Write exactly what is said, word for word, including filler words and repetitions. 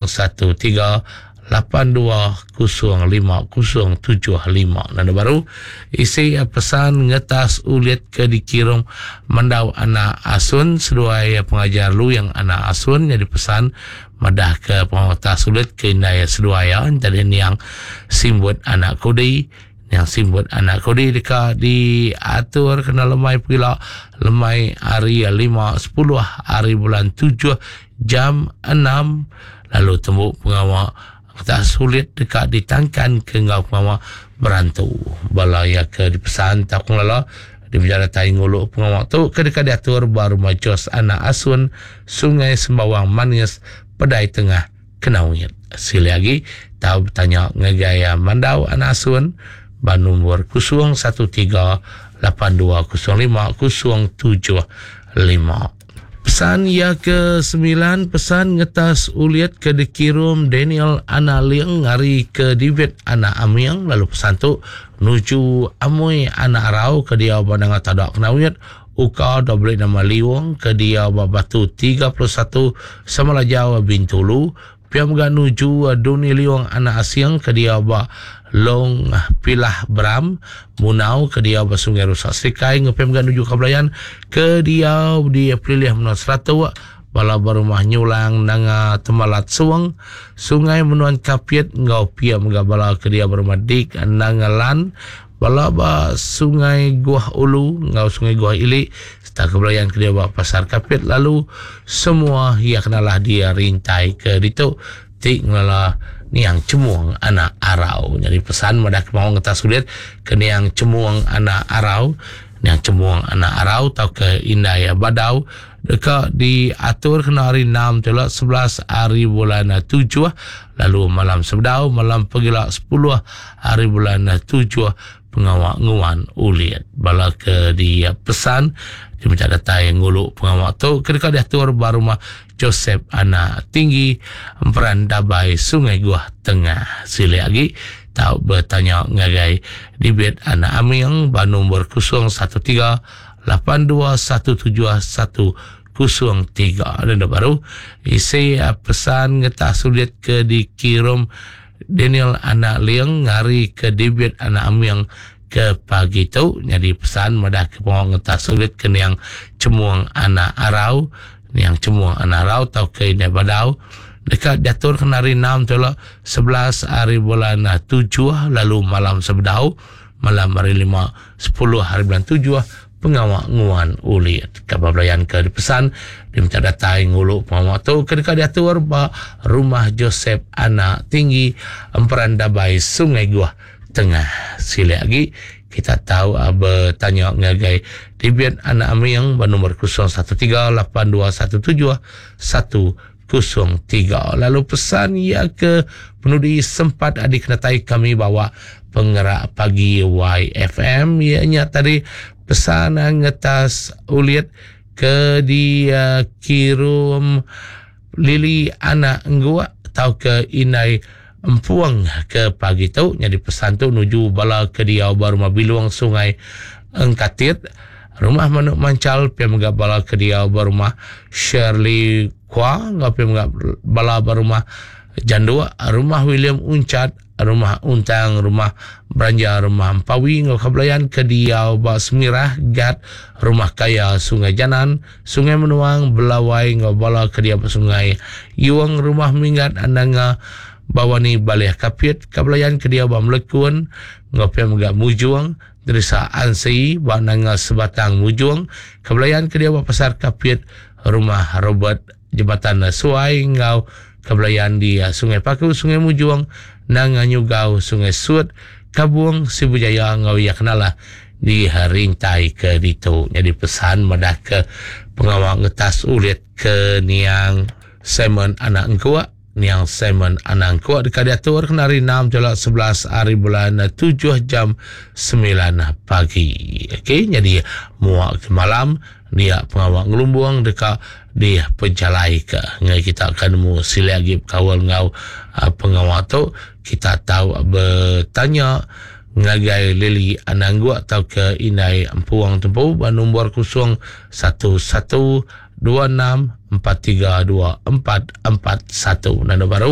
satu tiga lapan dua kosong lima kosong tujuh lima. Nanda baru isi pesan ngetas ulit ke dikirum Mandau Anak Asun seduai pengajar Luyang Anak Asun jadi pesan madah ke pengawas ulit ke indai seduai ya tadi niang Simbut Anak Kudi. Yang Simbut Anak Kudi deka diatur kena lemai pila lemai hari lima sepuluh hari bulan tujuh jam enam lalu temu pengawa tak sulit deka ditangkan ke ngau pengawa berantu. Bala ya ke dipesan tak pengelola di penjara tai ngulu pengawa tu ke deka diatur baru Majos Anak Asun Sungai Sembawang Manis Pedai Tengah Kenawit. Sili lagi tau bertanya ngagai Mandau Anak Asun ba nombor kosong satu tiga lapan dua kosong lima kosong tujuh lima. Pesan ya ke sembilan, pesan ngetas uliat ke dikirum Daniel Anak Liang hari ke David Anak Amiang lalu pesan tu nuju Amoi Anak Arau ke dia banang tadak Kenawit Uka dah beli nama Liwang ke dia batu tiga puluh satu Semalajau Bintulu. Pia mega nuju Duni Liwang Anak Asiang ke dia ba Long Pilah Bram Munau ke dia ba Sungai Rusak Serikai. Ngepia mega nuju Kabelayan ke dia di Pelilih Menua Seratuk bala berumah Nyulang Nanga Temalat Suang Sungai Menuan Kapit ngau pia mega bala ke dia berumah Dik Nanga Lan bala ba Sungai Guah Ulu ngau Sungai Guah Ili serta Kabelayan ke dia ba Pasar Kapit lalu semua ia kenalah dia rintai ke ditu tik ngelala niang Cemuang Anak Arau. Jadi pesan madah ke mau ngetas sulit ke niang Cemuang Anak Arau, niang Cemuang Anak Arau atau ke Indai Badau deka diatur kena hari enam tolak sebelas hari bulan tujuh lalu malam sebedau malam pegila sepuluh hari bulan tujuh pengawak nguan ulit. Bala ke dia pesan dia minta datai ngulu pengawak tu ketika diatur ba rumah Joseph Anak Tinggi Emperan Dabai Sungai Guah Tengah. Sili lagi tau bertanya ngagai Dibit Anak Aming ba nombor kosong satu tiga lapan dua satu tujuh satu kosong tiga. Dan baru isi pesan ngetah sulit ke dikirim Daniel Anak Liang ngari ke Dibit Anak Aming ke pagi tu. Jadi pesan madah ke pengawang ngetah sulit ke niang Cemuang Anak Arau, niang Cemuang Anak Arau atau ke Indai Badau dekat diatur kena hari enam tolak sebelas hari bulan tujuh lalu malam sebedau malam hari lima sepuluh hari bulan tujuh pengawak nguan ulit. Kabar belayan ke dipesan diminta datai ngulu pengawak tu ketika diatur ba rumah Joseph Anak Tinggi Emperan Dabai Sungai Guah Tengah. Sila lagi kita tahu bertanya ngagai Dibit Anak Aming bernombor kosong satu tiga lapan dua satu tujuh satu kosong tiga. Lalu pesan ia ke penudi sempat adik kenatai kami bawa penggerak pagi Y F M ianya tadi pesan ngetas ulit ke dikirum Lili Anak Engguak atau ke Inai Empuang ke pagi tu. Jadi pesan tu nuju bala ke dia baru Mabiluang Sungai Engkatit rumah Manuk Mancal pia mega bala ke dia baru rumah Shirley Kwa ngau pia mega bala baru rumah Jandua rumah William Uncat rumah Untang rumah Beranja rumah Empawi ngau kabelayan ke dia ba Semirah Gat rumah Kaya Sungai Janan Sungai Menuang Belawai ngau bala ke dia ba Sungai Yuang rumah Minggat Ananga Bawani Balih Kapit kabelayan ke dia ba Melekun ngau pia mega Mujuang Derisa Ansi ba Nanga Sebatang Mujuang kabelayan ke dia ba Pasar Kapit rumah Robert Jembatan Suai ngau kabelayan di Sungai Paku Sungai Mujuang Nanga Nyugau Sungai Sut Kabung Sibujaya ngau ia kenalah di rintai ke ditu. Jadi pesan madah ke pengawal ngetas ulit ke niang Simon Anak Engkuak, niang Simon Anak Engkuak dekat diatur kena hari enam tolak sebelas hari bulan tujuh jam sembilan pagi. Okey, jadi muak ke malam dia pengawal ngelumbuang dekat di pejalai ke. Ngai kita akan nemu sila lagi kawal ngau uh, pengawal tu kita tahu bertanya ngagai Lili Ananggu atau ke Inai Empuang Tempu nombor kosong satu satu dua enam empat tiga dua empat empat satu. Nanda baru.